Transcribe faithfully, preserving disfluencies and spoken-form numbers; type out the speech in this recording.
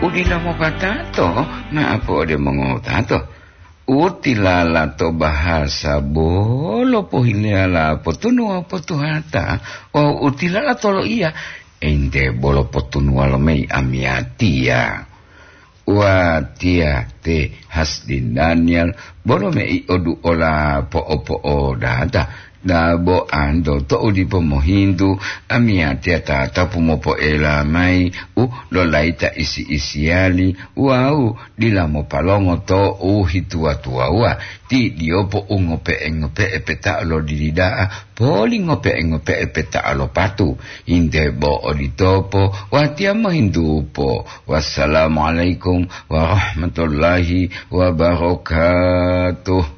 Udila mopatato, ma'apo ode mongowutato. Utilala to bahasa bolo pohilala potunuwa potuhata, wawu utilala to loiya, ente bolo potunuwa lo mei amiyatiya. Watiya te Hasdin Daniel, bolo mei odu ola po'o-po'o data. Dabo anto to'u dipo mohintu, amiyatiya tatapu mopo'ela mayi u lolaita isi-isiyali wawu dila mopalongo to'u hituwa-tuwawuwa, ti diyopo u ngope'e-ngope'e peta'o lo dilida'a, poli ngope'e-ngope'e peta'o lo patu. Inde bo oditopo, watiya mohintupo. Wassalamualaikum warahmatullahi wabarakatuh.